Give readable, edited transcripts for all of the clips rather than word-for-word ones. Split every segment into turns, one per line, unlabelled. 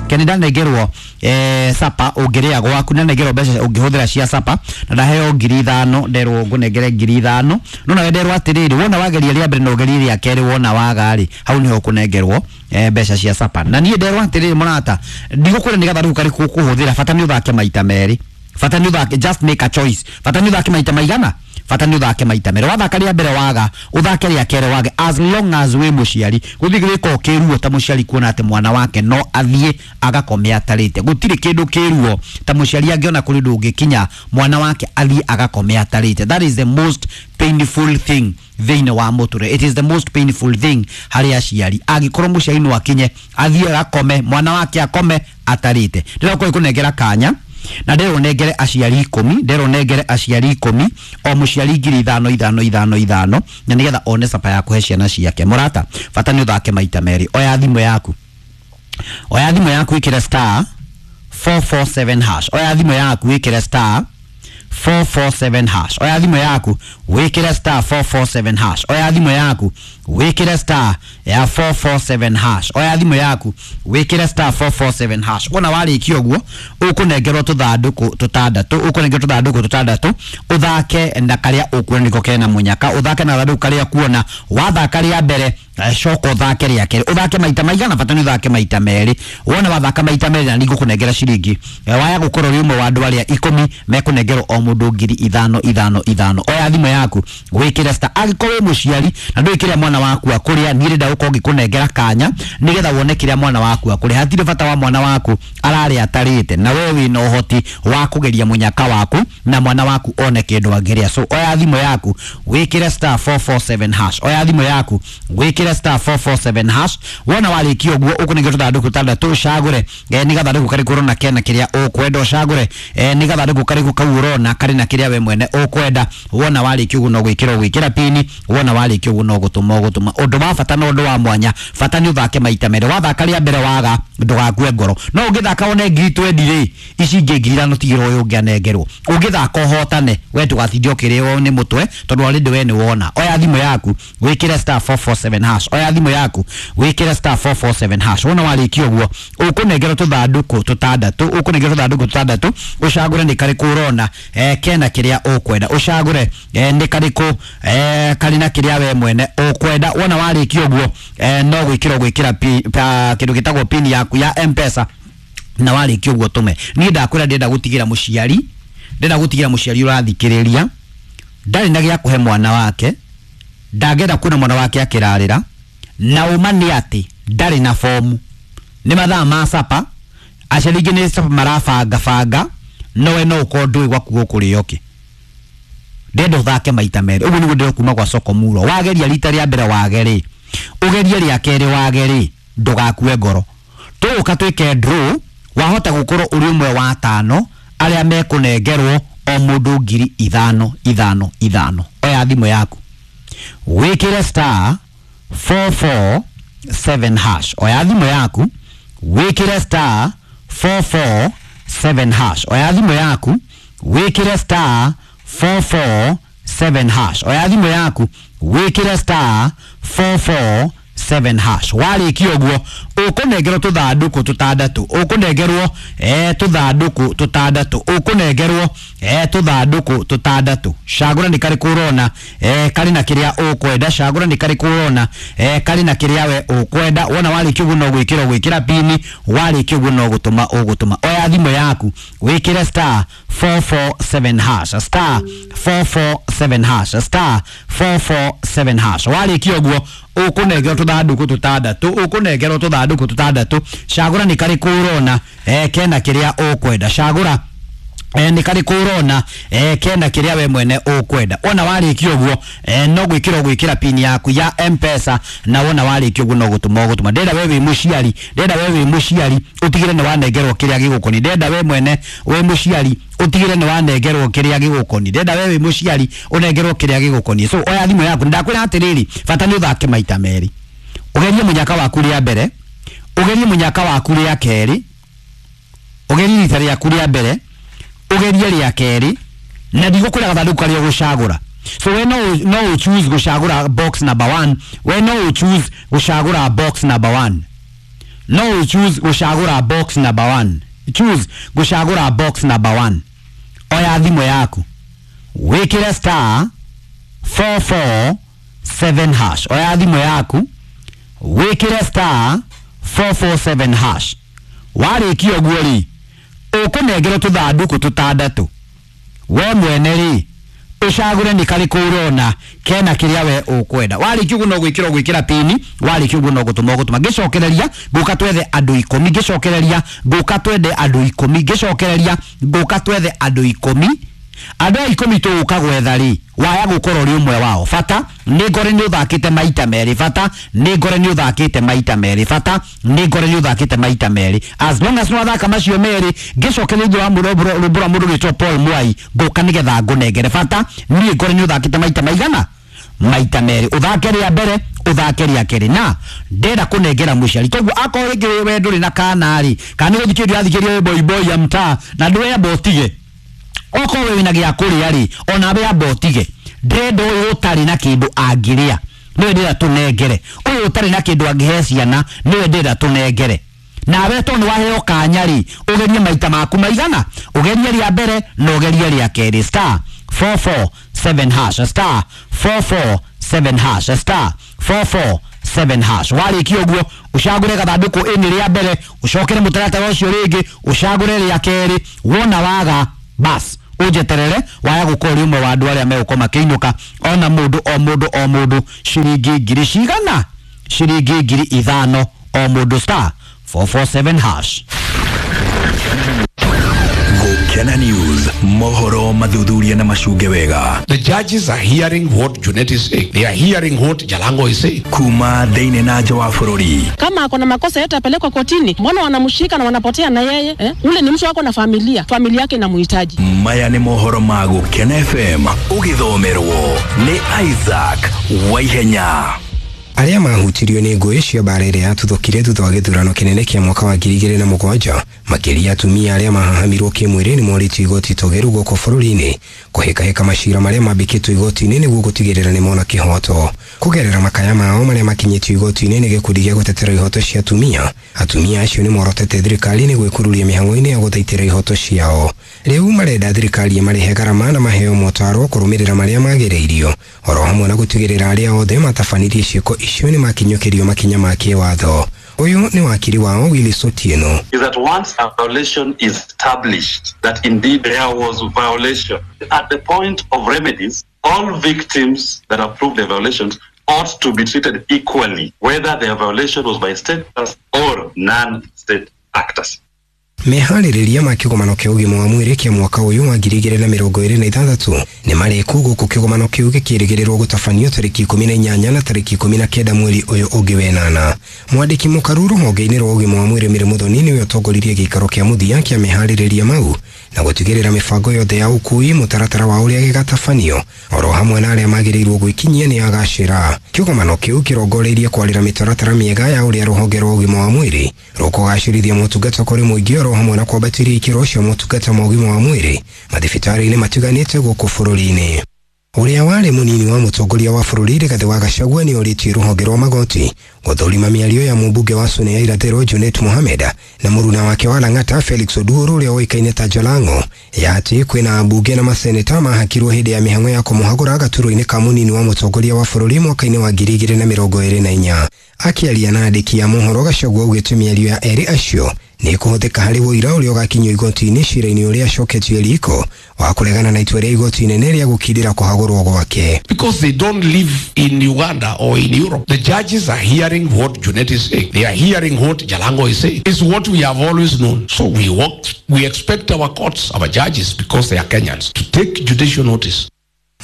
Keni ndanengerwo sapa ũngĩrĩa gwaku, ndanengerwo mbeca ũngĩhũthĩra cia sapa, na ndaheo 5,000, nderwo ngũnengere 5,000. No nawe nderwo atĩrĩrĩ, wona wageria rĩa mbere na ũgerie rĩa kerĩ, wona waga rĩ, hau nĩho ũkũnengerwo mbeca cia sapa. Na niĩ nderwo atĩrĩrĩ mũrata, ndigũkwĩra nĩ gathandũkũ karĩkũ ũkũhũthĩra, bata nĩ ũthake maita merĩ, bata nĩ ũthake, just make a choice, bata nĩ ũthake maita maigana, bata nĩ ũthake maita merĩ. Wathaka rĩa mbere waga, ũthake rĩa kerĩ wage, as long as wĩ mũciari. Gũthiĩ gwĩka kĩruo ta mũciari kuona atĩ mwana wake no athiĩ agakome atarĩte. Gũtirĩ kĩndũ kĩruo ta mũciari angĩona kũrĩ ũndũ ũngĩkinya mwana wake athiĩ agakome atarĩte. That is the most painful thing thĩinĩ wa mũtũrĩre. It is the most painful thing harĩ aciari, angĩkorwo mũciari no akinye athiĩ agakome, mwana wake akome atarĩte. Ndĩrakorwo kũnengera kanya na nderwo nengere aciari 10, nderwo nengere aciari 10, o mũciari 5,000 5 5 5, na nĩgetha one sapa ya kũhe ciana ciake. Mũrata, bata nĩ ũthake maita merĩ. Oya thimũ yaku, oya thimũ yaku, ĩkĩre star 447 hash. Oya thimũ yaku, ĩkĩre star 447 hash. Oya thimũ yaku, wĩkĩre star 447 hash. Oya thimũ yaku, wĩkĩre star ya 447 hash. Oya thimũ yaku, wĩkĩre star 447 hash. Wona warĩkia ũguo, ũkũnengerwo tũthandũkũ tũtandatũ, ũkũnengerwo tũthandũkũ tũtandatũ, ũthake na karĩa ũkuona nĩko kena mũnyaka, ũthake na gathandũkũ karĩa kuona. Wathaka rĩa mbere, coka ũthake rĩa kerĩ, ũthake maita maigana, bata nĩ ũthake maita merĩ. Wona wathaka maita merĩ, na nĩngũkũnengera ciringi, waya gũkorwo ũrĩ ũmwe wa andũ arĩa 10 mekũnengerwo o mũndũ 5,000 5 5. Oya thimũ yaku, wĩkĩre star. Angĩkorwo wĩ mũciari na ndũĩ kĩrĩa mwana waku akũrĩa, niĩ ndĩrenda gũkorwo ngĩkũnengera kanya nĩgetha wone kĩrĩa mwana waku akũrĩa. Hatirĩ bata wa mwana waku ararĩa atarĩte, na we wĩna ũhoti wa kũgeria mũnyaka waku na mwana waku one kĩndũ angĩrĩa. So oya thimũ yaku, wĩkĩre star 447 hash. Oya thimũ yaku, wĩkĩre star 447 hash. Wona warĩkia ũguo, ũkũnengera tũthandũkũ tũtandatũ, ũcagũre nĩ gathandũkũ karĩkũ ũrona kena kĩrĩa ũkwenda, ũcagũre nĩ gathandũkũ karĩkũ kau ũrona karĩ na kĩrĩa we mwene ũkwenda. Wona warĩkia ũguo, no gwĩkĩra ũgwĩkĩra pini. Wona warĩkia ũguo, no gũtũma ũgũtũma. Ũndũ wa bata na ũndũ wa mwanya, bata nĩ ũthake maita merĩ. Wathaka rĩa mbere waga, ndũgakue ngoro. No ũngĩthaka wone 20,000 rĩ, ici ingĩ 5,000 tigĩrwo ũyũ ũngĩ anengerwo. Ũngĩthaka ũhotane, we ndũgatinde ũkĩrĩo nĩ mũtwe, tondũ already we nĩ wona. Oya thimũ yaku, wĩkĩre star 447 hash. Oya thimũ yaku, wĩkĩre star 447 hash. Wona warĩkia ũguo, ũkũnengerwo tũthandũkũ tũtandatũ, ũkũnengerwo tũthandũkũ tũtandatũ, ũcagũre nĩ karĩkũ ũrona kena kĩrĩa ũkwenda, ũcagũre nĩ karĩkũ karĩ na kĩrĩa we mwene ũkwenda. Wona warĩkia ũguo, no gwĩkĩra ũgwĩkĩra kĩndũ gĩtagwo pin yaku ya M-Pesa, na warĩkia ũguo tũme. Niĩ ndakwĩra, ndĩrenda gũtigĩra mũciari, ndĩrenda gũtigĩra mũciari ũrathikĩrĩria ndarĩ na gĩa kũhe mwana wake, ndangĩenda kuona mwana wake akĩrarĩra, na ũma nĩ atĩ ndarĩ na bomu. Nĩ mathaa ma sapa, aciari aingĩ nĩ sapa marabanga banga, no we no ũkorwo ndũĩ gwaku gũkũrĩo kĩ. Ndĩrenda ũthake maita merĩ. Ũguo nĩguo ndĩrenda kuma gwa soko muro. Wageria rita rĩa mbere wage rĩ, ũgerie rĩa kerĩ wage rĩ, ndũgakue ngoro. Tũgũka twĩke draw, wahota gũkorwo ũrĩ ũmwe wa 5 arĩa mekũnengerwo o mũndũ 5,000 5 5. Oya thimũ yaku, wĩkĩre star 447 hash. Oya thimũ yaku, wĩkĩre star 447 hash. Oya thimũ yaku, wĩkĩre star 447 hash. Oya thimũ yaku, wĩkĩre star 447 hash. Warĩkia ũguo, ũkũnengerwo tũthandũkũ tũtandatũ, ũkũnengerwo tũthandũkũ tũtandatũ, ũkũnengerwo tũthandũkũ tũtandatũ. Cagũra nĩ karĩkũ ũrona karĩ na kĩrĩa ũkwenda, cagũra nĩ karĩkũ ũrona karĩ na kĩrĩa we ũkwenda. Wona warĩkia ũguo, no gwĩkĩra ũgwĩkĩra pini. Warĩkia ũguo, no gũtũma ũgũtũma. Oya thimũ yaku, wĩkĩre star 447 hash, star 447 hash, star 447 hash. Warĩkia ũguo, ũkũnengerwo tũthandũkũ tũtandatũ, ũkũnengerwo tũthandũkũ tũtandatũ. Cagũra nĩ karĩkũ ũrona kena kĩrĩa ũkwenda, cagũra nĩ karĩkũ ũrona kena kĩrĩa we mwene ũkwenda. Wona warĩkia ũguo, no gwĩkĩra ũgwĩkĩra pin yaku ya M-Pesa, na wona warĩkia ũguo, no gũtũma ũgũtũma. Ndĩrenda we wĩ mũciari, ndĩrenda we wĩ mũciari ũtigĩre nĩ wanengerwo kĩrĩa gĩgũkoniĩ. Ndĩrenda we mwene wĩ mũciari ũtigĩre nĩ wanengerwo kĩrĩa gĩgũkoniĩ. Ndĩrenda we wĩ mũciari ũnengerwo kĩrĩa gĩgũkoniĩ. So oya thimũ yaku, ndakwĩra atĩrĩrĩ, bata nĩ ũthake maita merĩ, ũgerie mũnyaka waku rĩa mbere, ũgerie mũnyaka waku rĩa kerĩ, ũgerie rita rĩaku rĩa mbere, ũgerie rĩa kerĩ, na ndigũkwĩra gathandũkũ karĩa ũgũcagũra. So we no ũ choose gũcagũra box number 1, we no ũ choose gũcagũra box number 1. No choose gũcagũra box number 1. Choose gũcagũra box number 1. Oya thimũ yaku wĩkĩre star 447 hash. Oya thimũ yaku wĩkĩre star 447 hash. Warĩkia ũguo rĩ, ũkũnengerwo tũthandũkũ tũtandatũ. We mwene rĩ, ũcagũre nĩ karĩkũ ũrona kena kĩrĩa we ũkwenda. Warĩkia ũguo no gwĩkĩra ũgwĩkĩra pini, warĩkia ũguo no gũtũma ũgũtũma. Ngĩcokereria ngũka twethe andũ 10, ngĩcokereria ngũka twethe andũ 10, ngĩcokereria ngũka twethe andũ 10. Andũ aya 10 tũgũka gwetha rĩ, waya gũkorwo ũrĩ ũmwe wao. Bata nĩ ngore nĩ ũthakĩte maita merĩ, bata nĩ ngore nĩ ũthakĩte maita merĩ, bata nĩ ngore nĩ ũthakĩte maita merĩ. As long as nĩwathaka macio merĩ, ngĩcokereria thutha wa rwĩmbo rwa mũndũ ũgwĩtwo Paul Mwai, ngũka nĩgetha ngũnengere. Bata niĩ ngore nĩ ũthakĩte maita maigana? Maita merĩ. Ũthake rĩa mbere, ũthake rĩa kerĩ. Na ndenda kũnengera mũciari, koguo akorwo rĩngĩ we ndũrĩ na kana rĩ, kana nĩ gũthikĩrĩria ũrathikĩrĩria boy boy ya mtaa na ndwĩamba ũtige, okorwo wĩna gĩa kũrĩa rĩ, ona we amba ũtige. Ndĩrenda ũyũ ũtarĩ na kĩndũ angĩrĩa nĩwe ndĩrenda tũnengere, ũyũ ũtarĩ na kĩndũ angĩhe ciana nĩwe ndĩrenda tũnengere. Nawe tondũ nĩwaheo kanya rĩ, ũgerie maita maku maigana, ũgerie rĩa mbere na ũgerie rĩa kerĩ. Star 447 hash, star 447 hash, star 447 hash. Warĩkia ũguo ũcagũre gathandũkũ ĩnĩ rĩa mbere, ũcokere mũtaratara ũcio rĩngĩ, ũcagũre rĩa kerĩ. Wona waga bas ũnjeterere, waya gũkorwo ũrĩ ũmwe wa andũ arĩa megũkorwo makĩinũka ona mũndũ o mũndũ o mũndũ ciringi ngiri cigana? Ciringi 5,000 o mũndũ. Star 447 hash.
Gukena News, mohoro mathuthuria na macunge wega.
The judges are hearing what Junet is saying. They are hearing what Jalango is saying.
Kuma thĩinĩ na nja wa bũrũri.
Kama ako na makosa yote apelekwa kotini. Mbona wanamshika na wanapotea na yeye? Ule ni mtu wako na familia. Familia yake inamhitaji.
Maya nĩ mohoro ma Gukena FM ũgĩthomerwo nĩ Isaac Waihenya.
Arĩa mahutirio nĩ ngũĩ cia mbara ĩrĩa yatuthũkire thutha wa gĩthurano kĩnene kĩa mwaka wa 2007, makĩria atumia arĩa mahahamirwo kĩmwĩrĩ nĩ morĩtio igoti togeru gũkũ bũrũri-inĩ kũhĩkahĩka macira marĩa mambĩkĩtwo igoti-inĩ nĩguo gũtigĩrĩra nĩ mona kĩhoto. Kũgerera makaya mao marĩa makinyĩtio igoti-inĩ nĩ gĩkundi gĩa gũtetera ihoto cia atumia, atumia acio nĩ morotete thirikari nĩ gwĩkururia mĩhang'o-inĩ ya gũthaitĩra ihoto ciao. Rĩu marenda thirikari ĩmarĩhe garama na maheo motaro kũrũmĩrĩra marĩa magĩrĩirio, oro hamwe na gũtigĩrĩra arĩa othe matabanirie ciĩko icio nĩ makinyũkĩrio makinya ma kĩwatho. Ũyũ nĩ wakiri wao Willis Otieno.
Is that once a violation is established, that indeed there was violation, at the point of remedies, all victims that have proved the violations ought to be treated equally, whether their violation was by state or non-state actors.
Meharĩrĩria ma kĩgomano kĩa ũgima wa mwĩrĩ kĩa mwaka ũyũ wa 2026 nĩ marĩku gũkũ kĩgomano kĩu gĩkĩrĩgĩrĩrwo gũtabanio tarĩki 18 na tarĩki 19 mweri ũyũ ũngĩ wenana. Mwandĩki mũkaru rũhonge-inĩ rwa ũgima wa mwĩrĩ Mary Muthoni nĩwe ũtongoririe gĩikaro kĩa mũthia kĩa meharĩrĩria mau na gũtigĩrĩra mĩbango yothe ya ũkui, mũtaratara wa ũrĩa gĩgatabanio oro hamwe na arĩa magĩrĩirwo gwĩkinyia nĩ agacĩra. Kĩgomano kĩu kĩrongoreirie kwarĩra mĩtaratara mĩega ya ũrĩa rũhonge rwa ũgima wa mwĩrĩ rũkũgacĩrithia motungata kũrĩ mũingĩ oro hamwe na kwambatĩria ikĩro cia motungata ma ũgima wa mwĩrĩ mathibitarĩ-inĩ matiganĩte gũkũ bũrũri-inĩ. Ũrĩa warĩ mũnini wa mũtongoria wa bũrũri Rigathĩ wa Gachagua nĩ orĩtie rũhonge rwa magoti gũthũrima mĩario ya mũmbunge wa Suna ya Irathĩro Junet Mohamed na mũruna wake wa Lang'ata Felix Oduor ũrĩa ũĩkaine ta Jalango, ya atĩ kwĩna ambunge na maseneta mahakirwo hĩndĩ ya mĩhang'o ya kũmũhagũra gaturwa-inĩ ka mũnini wa mũtongoria wa bũrũri mwaka-inĩ wa 2024. Akĩaria na andĩki a mohoro, Gachagua augĩte mĩario ya erĩ acio nĩ kũhũthĩka harĩ ũira ũrĩa ũgakinyio igoti-inĩ cira-inĩ ũrĩa acoketio riko wa kũregana na itua rĩa igoti inene rĩa gũkindĩra kũhagũrwo gwake.
Because they don't live in Uganda or in Europe. The judges are hearing what Junet is saying. They are hearing what Jalango is saying. It's what we have always known. So we expect our courts, our judges, because they are Kenyans, to take judicial notice.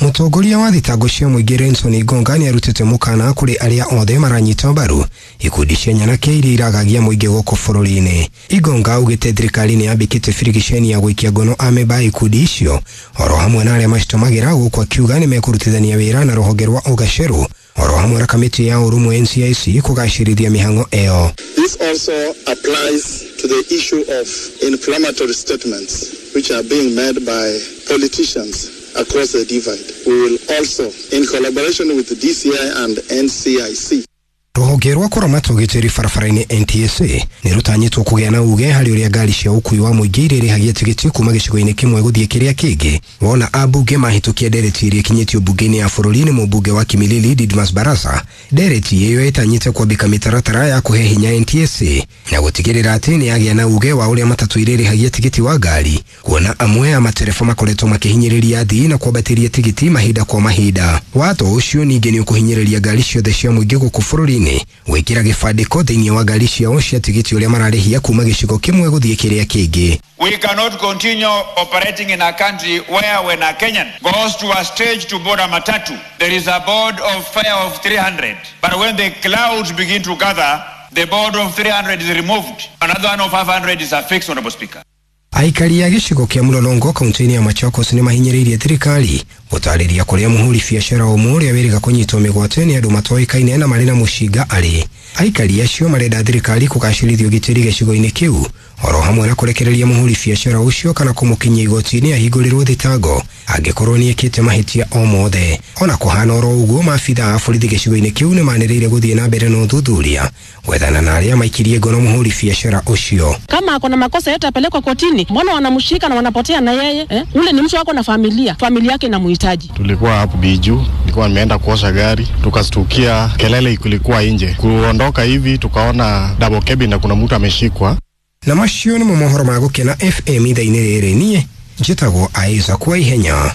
Mũtongoria wa thitango cia mũingĩ Renson Igonga nĩ arutĩte mũkana kũrĩ arĩa othe maranyita mbaru ikundi cia nyanake iria iragagia mũingĩ gũkũ bũrũri-inĩ. Igonga augĩte thirikari nĩ yambĩkĩte birigiceni ya gũikia ngono amemba a ikundi icio oro hamwe na arĩa macitumagĩra, gũkũ akiuga nĩ mekũrutithania wĩra na rũhonge rwa ũgacerũ oro hamwe na kamĩtĩ ya ũrũmwe NCIC kũgacĩrithia mĩhang'o ĩyo.
This also applies to the issue of inflammatory statements which are being made by politicians across the divide. We will also, in collaboration with the DCI and NCIC,
Rũhonge rwa kũramata ũgitĩri barabara-inĩ NTSA nĩ rũtanyĩtwo kũgĩa na uge harĩ ũrĩa ngari cia ũkui wa mũingĩ irĩrĩhagia tigiti kuma gĩcigo-inĩ kĩmwe gũthiĩ kĩrĩa kĩngĩ. Wona ambunge mahĩtũkia ndereti ĩrĩa ĩkinyĩtio mbunge-inĩ ya bũrũri nĩ mũmbunge wa Kimilili Didmas Barasa. Ndereti ĩyo ĩtanyĩte kwambĩka mĩtaratara ya kũhe hinya NTSA na gũtigĩrĩra atĩ nĩ yagĩa na uge wa ũrĩa matatũ irĩrĩhagia tigiti wa ngari, kuona amwe a matereba makoretwo makĩhinyĩrĩria athii na kwambatĩria tigiti mahinda kwa mahinda. Watho ũcio ningĩ nĩ ũkũhinyĩrĩria ngari ciothe cia mũingĩ gũkũ bũrũri-inĩ gwĩkĩra gĩbandĩko thĩinĩ wa ngari ciao cia tigiti ũrĩa mararĩhia kuma gĩcigo kĩmwe gũthiĩ kĩrĩa kĩngĩ.
We cannot continue operating in a country where when a Kenyan goes to a stage to board a matatu, there is a board of fare of 300. But when the clouds begin to gather, the board of 300 is removed. Another one of 500 is affixed, Honorable Speaker.
Aikari a gĩcigo kĩa Mlolongo kaunti-inĩ ya Machakos nĩ mahinyĩrĩirie thirikari gũtarĩria kũrĩa mũhũri biacara ũmwe ũrĩa wĩrĩga kũnyitwo mĩgwate nĩ andũ matoĩkaine na marĩ na mũcinga arĩ. Aikari acio marenda thirikari kũgacĩrithia ũgitĩri gĩcigo-inĩ kĩu oro hamwe na kũrekereria mũhũri biacara ũcio kana kũmũkinyia igoti-inĩ ahingũrĩrwo thitango angĩkorwo nĩ ekĩte mahĩtia o mothe. Ona kũhana oro ũguo, maabitha a borithi gĩcigo-inĩ kĩu nĩ manĩrĩire gũthiĩ na mbere na ũthuthuria gwethana na arĩa maikirie ngono mũhũri biacara ũcio.
Kama ako na makosa yote apelekwe kotini. Mbona wanamshika na wanapotea na yeye eh? Ule ni mtu wako na familia, familia yake inamhitaji.
Tulikuwa hapo Biju, nilikuwa nimeenda kuosha gari, tukastukia kelele ilikuwa nje. Kuondoka hivi tukaona double cabin na kuna mtu ameshikwa.
Na macio nĩmo mohoro ma Gũkena FM ithaa-inĩ rĩrĩ. Niĩ njĩtagwo Isaac Waihenya.